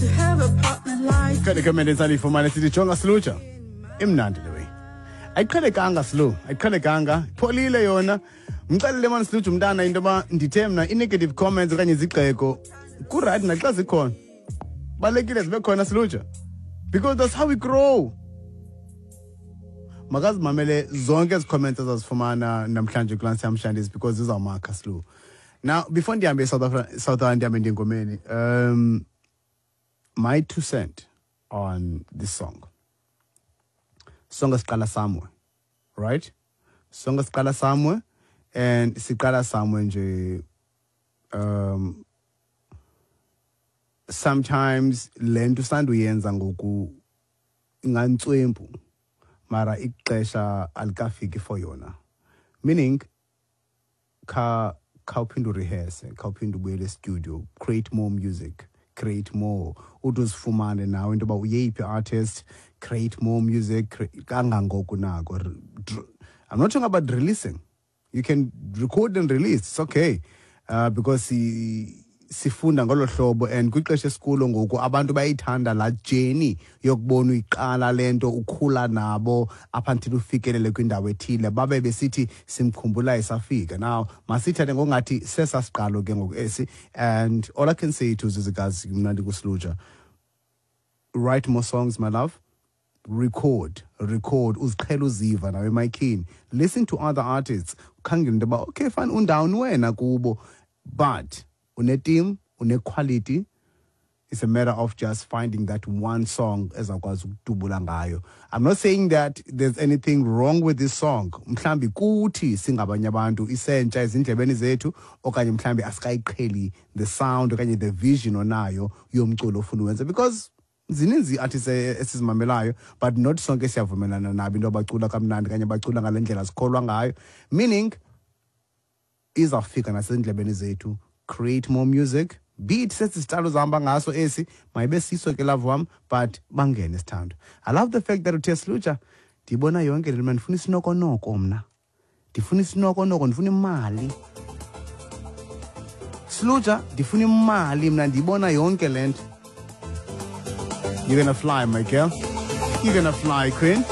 To have a partner like Kanti comment esandiyifumane sithi, jonga Sluja, imnandi le way. Ayiqhelekanga Slu, ayiqhelekanga, ipholile yona. Mxelele mani Sluja umntana into yoba ndithe mna i-negative comments okanye izigxeko kurayithi naxa zikhona. Balulekile zibe khona Sluja, because that's how we grow. Makazimamele zonke ezi comments azazifumana namhlanje kulaa Siyamshandisi because zizawumakha Slu. Now before ndihambe eSouth Africa, South Africa ndihambe ndingomeni, my 2 cent on this song. Sonke siqala somewhere, right? Sonke siqala somewhere and siqala somewhere nje. Sometimes le nto usanduyenza ngoku ingantswempu, mara ixesha alikafiki for yona, meaning kha khawuphinde urehearse, khawuphinde ubuyele studio, create more music, create more, ude uzifumane nawe into yoba uyeyiphi artist. Create more music, kangangoko nako. I'm not talking about releasing. You can record and release, it's okay, because sifunda ngolo hlobo and kwixesha esikulo ngoku abantu bayayithanda laa journey yokubona uyiqala le nto, ukhula nabo up until ufikelele kwindawo ethile, babe besithi simkhumbula esafika. Now masithathe ngokungathi sesasiqalo ke ngoku esi. And all I can say to Zizikazi, mna ndikuSluja, write more songs, my love. Record, record, uziqhela uziva nawe emayikhini. Listen to other artists, ukhangele into yoba okay fine, undawuni wena kubo, but une-team, une-quality. It's a matter of just finding that one song ezawukwazi ukudubula ngayo. I'm not saying that there's anything wrong with this song. Mhlambi kuthi singabanye abantu isentsha ezindlebeni zethu, okanye mhlambi asikayiqheli the sound okanye the vision onayo yomculo ofuna uwenza, because zininzi ii-artists esizimamelayo, but not sonke siyavumelana nabo into abacula kamnandi kanye bacula ngale ndlela sikholwa ngayo, meaning izawufika nasendlebeni zethu. Create more music, be it sesi sitalo zihamba ngaso esi, mayibe siso ke, love wam, but bangene sithando. I love the fact that uthe, "Sluja, ndiyibona yonke le mna, ndifuna isinokonoko, mna ndifuna isinokonoko, ndifuna imali. Sluja, ndifuna imali, mna ndiyibona yonke le nto." You're gonna fly, my girl. You're gonna fly, queen.